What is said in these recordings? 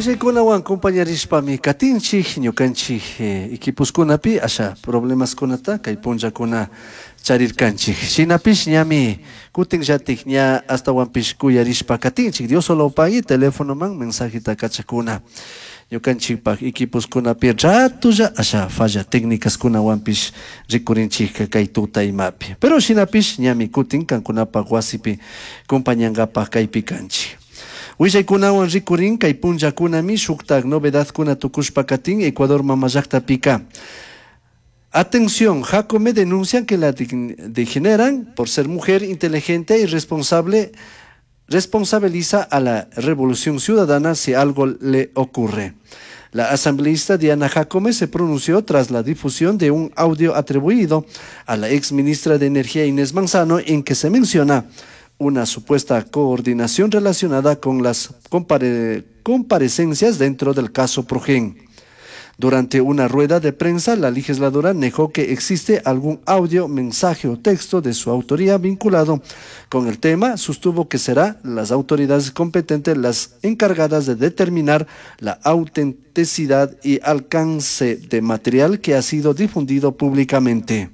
Willaykunawan compañarishpami katinchik ñukanchik equiposkunapi asha problemaskunata kay punllakuna charirkanchik. Shinapish ñami kutinllatik ña ashtawanpish kuyarishpa katinchik. Diosolopagui telefonoman mensajeta kachakuna. Ñukanchikpak equiposkunapi ratolla asha falla técnicaskunawanpish rikurinchik kay tuta imapi. Pero shinapish ñami kutin kankunapak wasipi compañankapak kaypi kanchik. Willaykunawan rikurin kay punllakunami shuktak novedadkuna tukushpa katin Ecuador mama llaqtapika. Atención, Jácome denuncian que la degeneran por ser mujer inteligente y responsable, responsabiliza a la Revolución Ciudadana si algo le ocurre. La asambleísta Diana Jácome se pronunció tras la difusión de un audio atribuido a la ex ministra de Energía Inés Manzano en que se menciona una supuesta coordinación relacionada con las comparecencias dentro del caso Progen. Durante una rueda de prensa, la legisladora negó que existe algún audio, mensaje o texto de su autoría vinculado con el tema. Sostuvo que será las autoridades competentes las encargadas de determinar la autenticidad y alcance de material que ha sido difundido públicamente.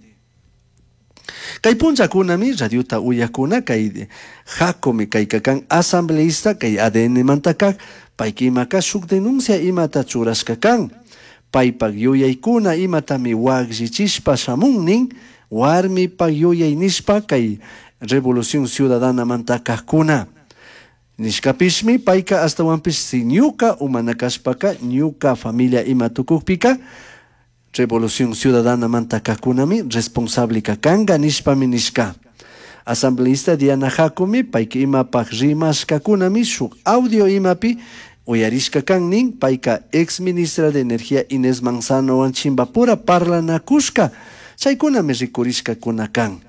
Kay punllakunami radiota uyakuna kay Jácome kaykakan asambleísta kay ADN mantakak payka imaka shuk denuncia imata churashka kan. Paypak yuyaykuna imatami wakllichishpa shamun nin warmipak yuyay nishpa kay Revolución Ciudadana mantakakuna. Nishkapishmi payka ashtawanpish si ñuka umana kashpaka ñuka familia ima tukukpika Revolución Ciudadana mantakakunami responsable kanka nishpami nishka. Asambleísta Diana Jácome payka imapak rimashkakunami shuk audio imapi uyarishka kan nin payka ex ministra de Energía Inés Manzanowan chimbapura parlanakushka chaykunami rikurishkakuna kan.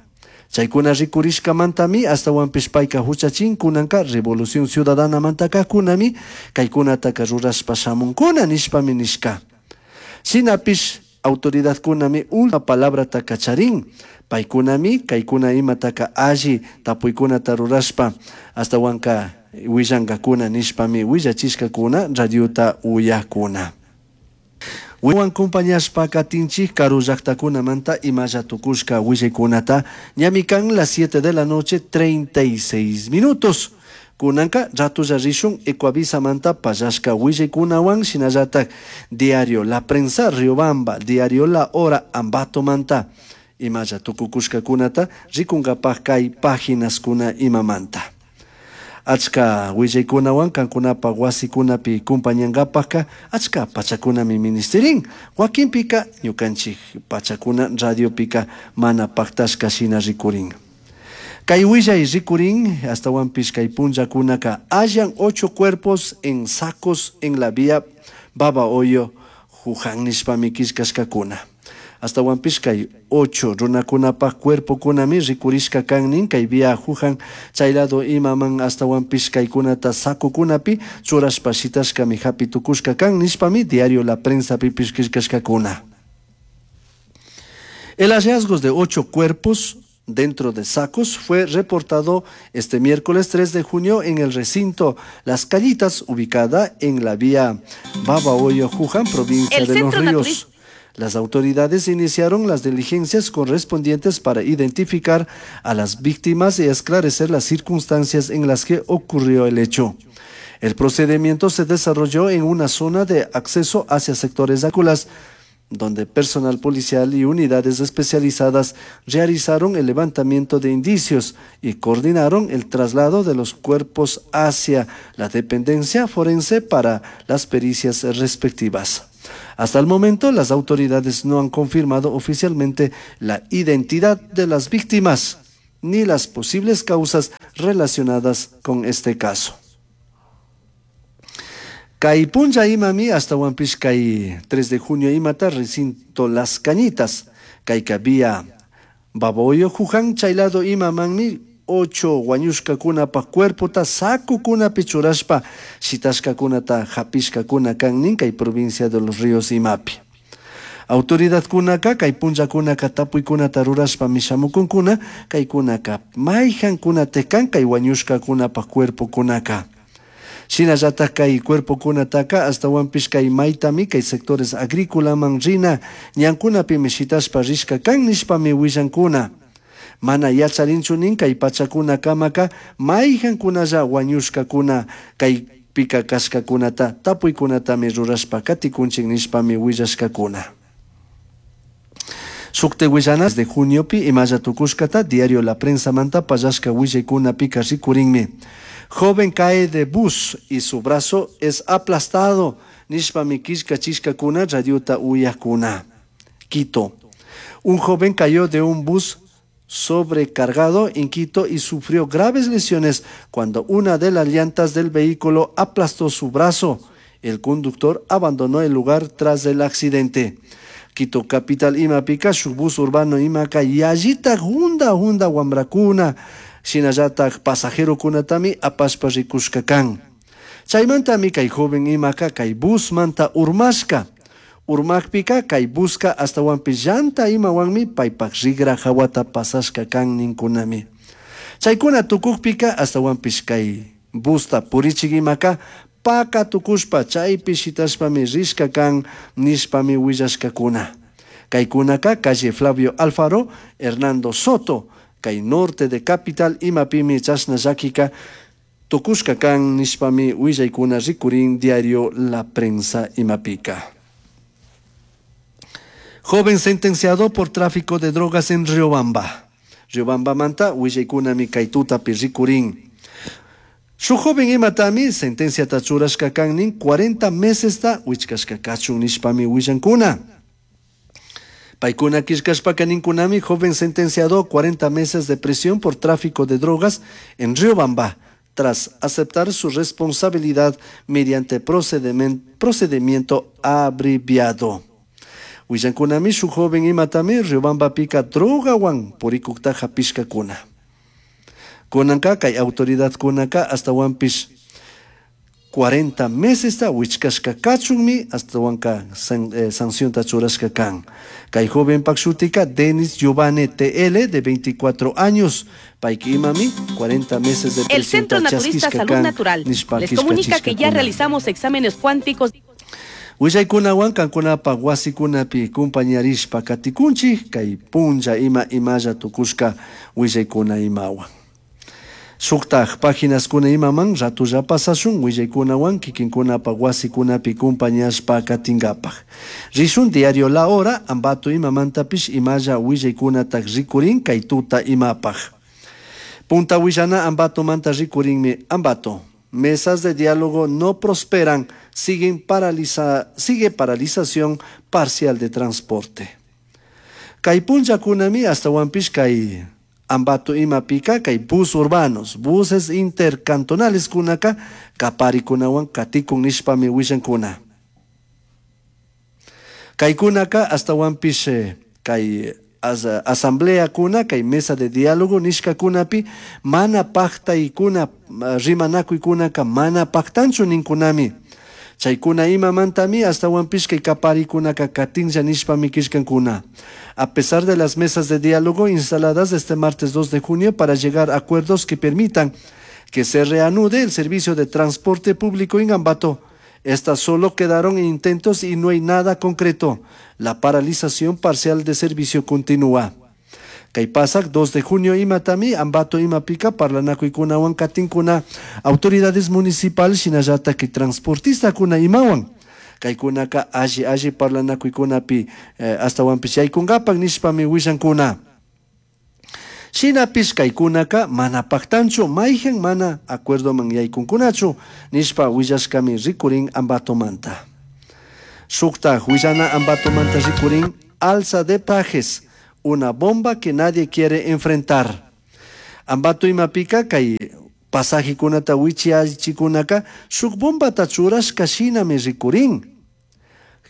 Chaykuna rikurishkamantami ashtawanpish payka huchachin kunanka Revolución Ciudadana mantakakunami kaykunataka rurashpa shamunkuna nishpami nishka. Shinapish autoridadkunami última palabrataka charin. Paykunami kaykuna imataka alli tapuykunata rurashpa ashtawanka willankakuna nishpami willachishkakuna radiota uyakuna. Wan compañashpa katinchik karu llaqtakunamanta imalla tukushka willaykunata ñami kan las 7 de la noche 36 minutos. Kunanka ratolla rishun Ecuavisamanta pallashka willaykunawan shinallatak Diario La Prensa Riobamba, Diario La Hora Ambatomanta imalla tukukushkakunata rikunkapak kay páginaskuna imamanta. Achka willaykunawan kankunapak wasikunapi compañankapakka achka pachakunami ministerin. Wakinpika ñukanchik pachakuna radiopika mana paktashka shina rikurin. Kay willay rikurin ashtawanpish kay punllakunaka hallan 8 cuerpos en sacos en la vía Babahoyo Juján nishpami killkashkakuna. Ashtawanpish kay 8 runakunapak cuerpokunami rikurishka kan nin kay vía Juján chay lado imaman ashtawanpish kaykunata sacokunapi churashpa shitashkami hapi tukushka kan nishpami Diario La Prensa pipish killkashkakuna. El hallazgo de 8 cuerpos dentro de sacos fue reportado este miércoles 3 de junio en el recinto Las Cañitas, ubicada en la vía Babahoyo, Juján, provincia El de Los Centro Ríos. Naturista. Las autoridades iniciaron las diligencias correspondientes para identificar a las víctimas y esclarecer las circunstancias en las que ocurrió el hecho. El procedimiento se desarrolló en una zona de acceso hacia sectores agrícolas, donde personal policial y unidades especializadas realizaron el levantamiento de indicios y coordinaron el traslado de los cuerpos hacia la dependencia forense para las pericias respectivas. Hasta el momento, las autoridades no han confirmado oficialmente la identidad de las víctimas ni las posibles causas relacionadas con este caso. Kay punlla imami ashtawanpish kay 3 de junio imata recinto Las Cañitas, kayka vía Babahoyo Juján chay lado imamanmi 8 wañushkakunapak cuerpota sacokunapi churashpa shitashkakunata hapishkakuna kan nin kay provincia de Los Ríos imapi. Autoridadkunaka kay punllakunaka tapuykunata rurashpa mishamukunkuna kaykunaka mayjankunata kan kay wañushkakunapak cuerpokunaka. Shinallataj kay cuerpokunataka ashtawanpish kay maytami kay sectores agrícolaman rina ñankunapimi shitashpa rishka kan nishpami willankuna. Mana yacharinchu nin kay pachakunakamaka mayjankunalla wañushkakuna kaypika kashkakunata tapuykunatami rurashpa katikunchik nishpami willashkakuna. Shukti willanas de juniopi imalla tukushkata diario La Prensamanta pallashka willaykunapika rikurinmi. Joven cae de bus y su brazo es aplastado nishpami killkachishkakuna radiota uyakuna. Quito. Un joven cayó de un bus sobrecargado en Quito y sufrió graves lesiones cuando una de las llantas del vehículo aplastó su brazo. El conductor abandonó el lugar tras el accidente. Quito capital imapika shuk bus urbano imaka yallitak hunda hunda wambrakuna shinallatak pasajerokunatami apashpa rikushka kan. Chaymantami kay joven imaka kay busmanta urmashka. Urmakpika kay buska ashtawanpish llanta imawanmi paypak rigra hawata pasashka kan ninkunami. Chaykuna tukukpika ashtawanpish kay busta purichik imaka paka tukushpa chaypi shitashpami rishka kan nishpami willashkakuna. Kaykunaka calle Flavio Alfaro, Hernando Soto, kay norte de capital imapimi chashna llakika tukushka kan nishpami willaykuna rikurin diario La Prensa imapika. Joven sentenciado por tráfico de drogas en Riobamba. Riobambamanta willaykunami kay tutapi rikurin. Shuk joven imatami sentenciata churashka kan nin 40 mesesta wichkashka kachun nishpami willankuna. Paykuna killkashpaka ninkunami joven sentenciado 40 meses de prisión por tráfico de drogas en Riobamba tras aceptar su responsabilidad mediante procedimiento abreviado. Willankunami shuk joven imatami Riobambapika drogawan purikukta hapishkakuna. Kunanka kay autoridadkunaka ashtawanpish 40 mesesta wichkashka kachunmi ashtawanka sancionta churashka kan. Kay jovenpak shutika Denis Giovanni TL de 24 años. Payki imami 40 meses de El Centro prisión Naturista chaskishka Salud kan Natural nishpa les comunica que ya killkachishkakuna. realizamos exámenes cuánticos. Willaykunawan kankunapaq wasikunapi kumpañarishpa katikunchik kay punlla ima imalla tukushka willaykuna imawan. Shuktaj páginaskuna imaman ratulla pasashun willaykunawan kikinkunapaq wasikunapi kumpañashpa katinkapaq. Rishun diario La Hora Ambato imamantapish imalla willaykunataj rikurin kay tuta imapaq. Punta willana Ambatomanta rikurinmi Ambato. Mesas de diálogo no prosperan, sigue paralización parcial de transporte. Kay punllakunami ashtawanpish kay Ambato imapika kay bus urbanos, buses intercantonales kunaka kaparikunawan katikun nishpami willankuna. Kaykunaka ashtawanpish kay asamblea kuna kay mesa de diálogo nishkakunapi mana paktaykuna, rimanakuykunaka mana paktanchu ninkunami. Chaykuna imamantami ashtawanpish kay kaparikunaka katinlla nishpami killkankuna. A pesar de las mesas de diálogo instaladas este martes 2 de junio para llegar a acuerdos que permitan que se reanude el servicio de transporte público en Ambato, estas solo quedaron en intentos y no hay nada concreto. La paralización parcial de servicio continúa. Kay pasak 2 de junio imatami Ambato imapika parlanakuykunawan katinkuna autoridades municipales shinallatak kay transportistakuna imawan. Kaykunaka alli alli parlanakuykunapi ashtawanpish yaykunkapak nishpami willankuna. Shinapish kaykunaka mana paktanchu mayjan mana acuerdoman yaykunkunachu nishpa willashkami rikurin Ambatomanta. Shuktaj willana Ambatomanta rikurin alza de pajes, una bomba que nadie quiere enfrentar. Ambato imapika kay pasajikunata wichiachikunaka shuk bombata churashka shinami rikurin.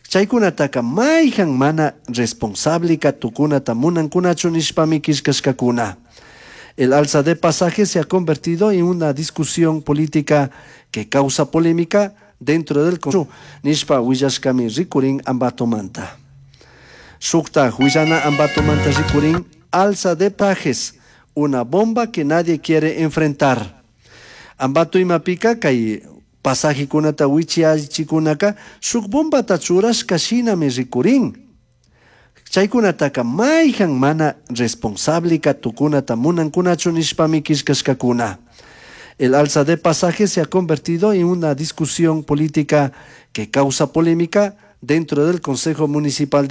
Chaykunataka mayjan mana responsableka tukunata munankunachu nishpami killkashkakuna. El alza de pasajes se ha convertido en una discusión política que causa polémica dentro del Congreso. Nishpa willashkami rikurin Ambatomanta. Shuktaj willana Ambatomanta rikurin alza de pajes, una bomba que nadie quiere enfrentar. Ambato imapika kay Pasajecunata huichiyachicunaca shuj bombata churashca shinami ricurin. Chaicunataca maijan mana responsableca tucunata munancunachu nishpami quillcashcacuna. El alza de pasajes se ha convertido en una discusión política que causa polémica dentro del Consejo Municipal.